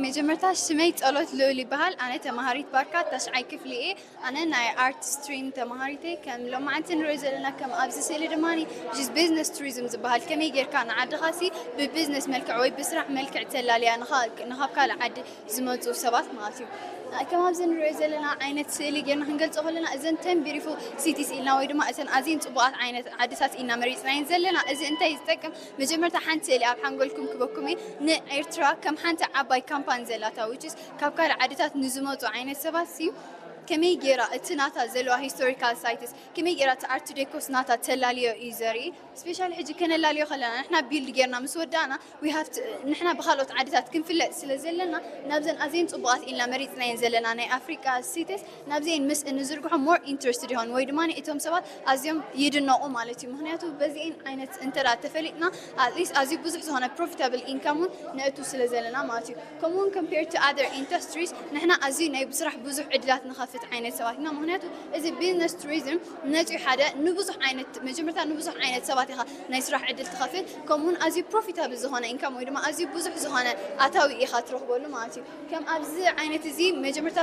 መጀመርታ ሽመይ ጸሎት ልኡል ይበሃል። ኣነ ተማሃሪት ባርካ ታሽዓይ ክፍሊ እየ። ኣነ ናይ ኣርት ስትሪም ተማሃሪት እየ። ከም ሎማዓንቲ ንሪኦ ዘለና ከም ኣብዚ ስእሊ ድማ ቢዝነስ ቱሪዝም ዝበሃል ከመይ ጌርካ ንዓድኻ ሲ ብቢዝነስ መልክዕ ወይ ብስራሕ መልክዕ ተላልያ ንኻብ ካልእ ዓዲ ዝመፁ ሰባት ማለት እዩ። ከም ኣብዚ ንሪኦ ዘለና ዓይነት ስእሊ ጌርና ክንገልፆ ከለና እዘን ተን ቢሪፉል ሲቲስ ኢልና ወይ ድማ እተን ኣዝየን ፅቡቃት ዓይነት ዓድታት ኢና መሪፅናየን ዘለና። እዚ እንታይ ዝጠቅም? መጀመርታ ሓንቲ ስእሊ ኣብ ሓንጎልኩም ክበኩም እየ። ንኤርትራ ከም ሓንቲ ዓባይ ካምፓኒ ዘላታ which is ካብ ካልእ ዓድታት ንዝመፁ ዓይነት ሰባት ሲ ከመይ ጌራ እቲ ናታ ዘለዋ ሂስቶሪካል ሳይትስ ከመይ ጌራ እቲ ኣርት ዴኮስ ናታ ተላልዮ እዩ ዘርኢ። ስፔሻሊ ሕጂ ከነላልዮ ከለና ንሕና ቢልድ ጌርና ምስ ወዳእና ንሕና ብካልኦት ዓድታት ክንፍለጥ ስለ ዘለና ናብዘን ኣዝየን ፅቡቃት ኢልና መሪፅናየን ዘለና ናይ ኣፍሪቃ ሲቲስ ናብዘን ምስ እንዝርግሖ ሞር ኢንትረስትድ ይኾን ወይ ድማ እቶም ሰባት ኣዝዮም ይድነቁ ማለት እዩ። ምክንያቱ በዚአን ዓይነት እንተ ተፈሊጥና ኣትሊስት ኣዝዩ ብዙሕ ዝኾነ ፕሮፊታብል ኢንካም እውን ነእቱ ስለ ዘለና ማለት እዩ። ከምኡውን ኮምፔር ቱ ኣደር ኢንዱስትሪስ ንሕና ኣዝዩ ናይ ብስራሕ ብዙሕ ዕድላት ንኸፍት ዓይነት ሰባት ኢና። ምክንያቱ እዚ ቢዝነስ ቱሪዝም ነፂኡ ሓደ ንብዙሕ ዓይነት መጀመርታ ንብዙሕ ዓይነት ሰባት ኢኻ ናይ ስራሕ ዕድል ትኸፍት። ከምኡውን ኣዝዩ ፕሮፊታብል ዝኾነ ኢንካም ወይ ድማ ኣዝዩ ብዙሕ ዝኾነ ኣታዊ ኢኻ ትረኽበሉ ማለት እዩ። ከም ኣብዚ ዓይነት እዚ መጀመርታ